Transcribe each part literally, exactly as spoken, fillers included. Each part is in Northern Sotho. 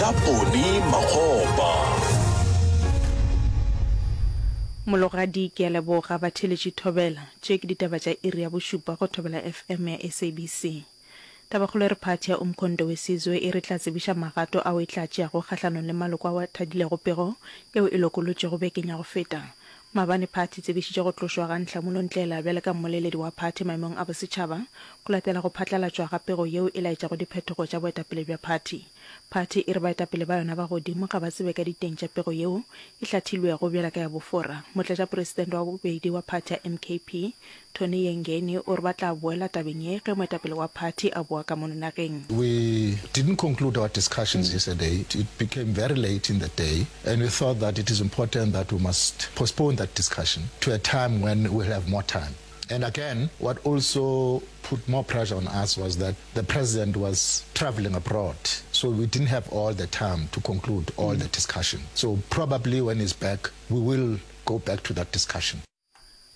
Ka Poni Makgopa. Mologadi, Ke a leboga batheeletši Thobela. Tše ke ditaba tša iri ya bošupa go Thobela F M ya S A B C. Tabakgolo e re phathi ya Umkhonto we Sizwe e re tla tsebiša magato ao e tla tšeago kgahlanong le maloko ao a thadilego pego yeo e lokolotšwego bekeng ya go feta. Maabane phathi e tsebišitše go tlošwa ga Nhlamulo Ndlela bjale ka mmoleledi wa phathi maemong a bosetšhaba go latela go phatlalatšwa ga pego yeo e laetšago diphetogo tša boetapele bja phathi. Phathi e re baetapele ba yona ba godimo ga ba tsebe ka diteng tša pego yeo e hlathilwego bjala ka ya bofora. Motlatšapresidente wa bobedi wa phathi ya M K P, Tony Yengeni, o re ba tla boela tabeng ye ge moetapele wa phathi a boa ka mono nageng. We didn't conclude our discussions yesterday. It became very late in the day and we thought that it is important that we must postpone that discussion to a time when we'll have more time. And again, what also put more pressure on us was that the president was traveling abroad, so we didn't have all the time to conclude all the discussion. So probably when he's back, we will go back to that discussion.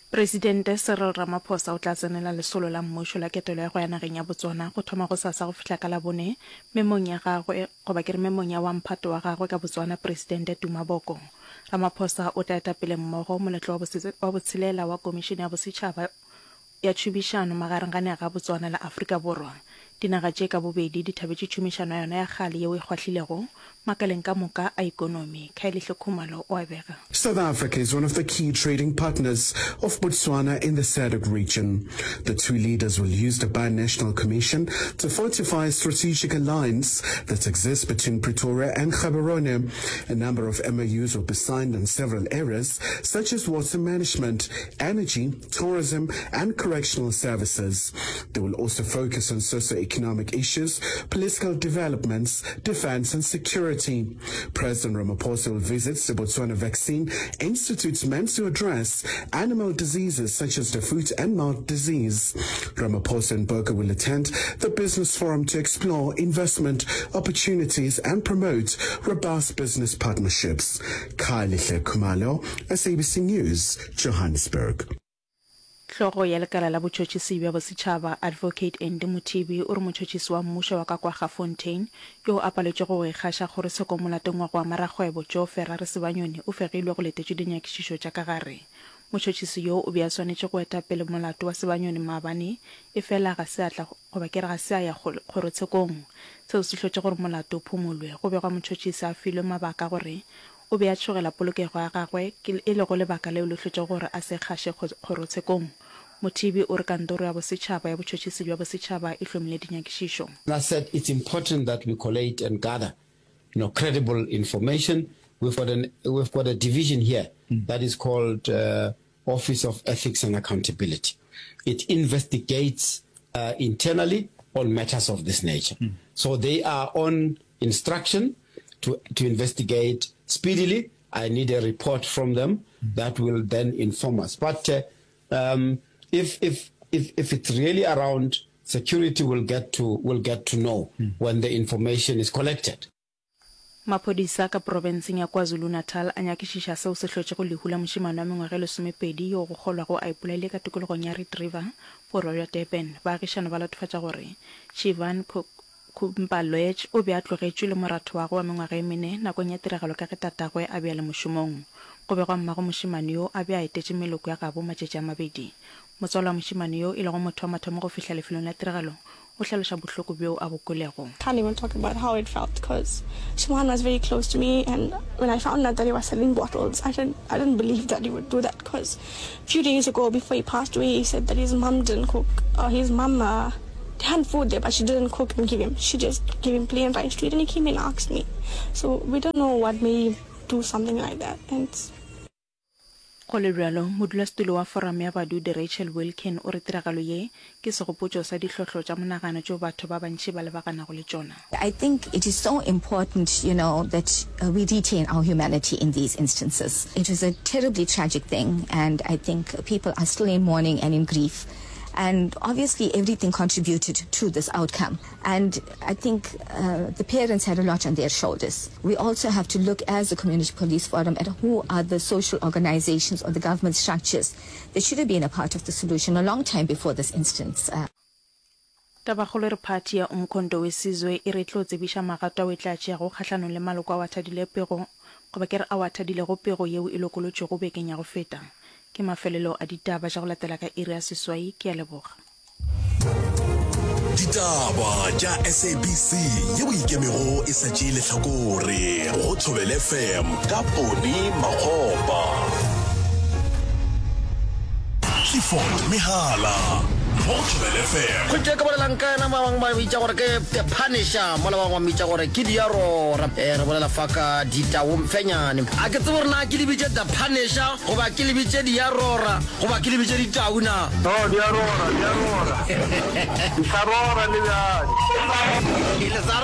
Presidente Cyril Ramaphosa o tla tsenela lesolo la mmušo la ketelo ya go ya nageng ya Botswana go thoma gosasa go fihla ka Labone memong ya gagwe goba ke re memong ya wa mphato wa gagwe ka Botswana Presidente Duma Boko. Ramaphosa o tla eta pele mmogo moletlo wa botshelela wa Komišene ya Bosetšhaba ya Tšhomišano magareng ga naga ya Botswana le Afrika Borwa. Dinaga tše ka bobedi di thabetše tšhomišano ya yona ya kgale yeo e kgwahlilego makaleng ka moka a ikonomi. Khayelihle Khumalo o a bega. South Africa is one of the key trading partners of Botswana in the S A D C region. The two leaders will use the Bi-National Commission to fortify a strategic alliance that exists between Pretoria and Gaborone. A number of M O Us will be signed on several areas such as water management, energy, tourism and correctional services. They will also focus on socio-economic issues, political developments, defense and security. President Ramaphosa will visit the Botswana Vaccine Institute meant to address animal diseases such as the foot and mouth disease. Ramaphosa and Boko will attend the business forum to explore investment opportunities and promote robust business partnerships. Khayelihle Khumalo, S A B C News, Johannesburg. Hlogo ya lekala la botšhotšhisi bja bosetšhaba, Advocate Andy Mothibi, o re motšhotšhisi wa mmušo wa ka kwa Gafontein, yo a paletšego go ikgaša kgorotshekong molatong wa go ama rakgwebo Joe Ferrari Sebanyoni, o fegilwe go letetšwe dinyakišišo tša ka gare. Motšhotšhisi yo o be a swanetše go eta pele molato wa Sebanyoni maabane, efela ga se a tla goba ke re ga se a ya kgorotshekong. Seo se hlotše gore molato o phumolwe. Go begwa motšhotšhisi a filwe mabaka gore o be a tšhogela polokego ya gagwe, e lego lebaka leo le hlotšego gore a se kgaše kgorotshekong. Mothibi o re kantoro ya bosetšhaba ya botšhotšhisi bja bosetšhaba e hlomile dinyakišišo. I said it's important that we collate and gather, you know, credible information. We've got an, we've got a division here mm. that is called, uh, Office of Ethics and Accountability. It investigates, uh, internally on matters of this nature. Mm. So they are on instruction to, to investigate speedily. I need a report from them mm. that will then inform us. But, uh, um, if, if, if, if it's really around security, we'll get to, we'll get to know mm. when the information is collected. Maphodisa ka profenseng ya KwaZulu-Natal a nyakišiša seo se hlotšego lehu la mošemane wa mengwaga e lesomepedi yo go kgolwago a ipolaile ka tikologong ya Reed River, borwa bja Durban. Baagišano ba latofatša gore Shivan Kumpalwech o be a tlogetšwe le moratho wa gagwe wa mengwaga e mene nakong ya tiragalo ka ge tatagwe a be a le mošomong. Go begwa mmago mošemane yo a be a etetše meloko ya gabo matšatši a mabedi. Motswalo wa mošemane yo e lego motho wa mathomo go fihla lefelong la tiragalo o hlaloša bohloko bjo a bo kwelego. Can't even talk about how it felt 'cause Siobhan was very close to me, and when I found out that he was selling bottles, I didn't, I didn't believe that he would do that, 'cause a few days ago before he passed away, he said that his mom didn't cook, uh, his mom, uh, had food there, but she didn't cook and give him. She just gave him plain rice to eat, and he came and asked me. So we don't know what made him do something like that. And Go le bjalo, modulasetulo wa Foramo ya Badudi Rachel Wilkin o re tiragalo ye ke segopotšo sa dihlohlo tša monagano tšeo batho ba bantši ba lebaganago le tšona. I think it is so important, you know, that we retain our humanity in these instances. It was a terribly tragic thing, and I think people are still in mourning and in grief. And obviously everything contributed to this outcome. And I think, uh, the parents had a lot on their shoulders. We also have to look as a community police forum at who are the social organizations or the government structures that should have been a part of the solution a long time before this instance. Uh, Tabakgolo e re phathi ya Umkhonto we Sizwe e re e tlo tsebiša magato ao e tla tšeago kgahlanong le maloko ao a thadile pego goba ke re ao a thadilego pego yeo e lokolotšwego bekeng ya go feta. Ke mafelelo a ditaba tša go latela ka iri ya seswai. Ke a leboga. Ditaba tša SABC yeo e ikemego e sa tšee lehlakore go Thobela FM ka Poni Makgopa. Clifford Mehala mo go Thobela FM. Kgwetše ke bolelang ka yena ba bangwe ba bitša gore ke The Punisher mola ba bangwe ba mmitša gore ke Diarora. Eh, re bolela fa ka Ditau Mfenyane. A ke tsebe gore na ke le bitše The Punisher goba ke le bitše Diarora goba ke le bitše Ditau na. No, di a rora, di a rora. Di sa rora le bjale. Le sa rora.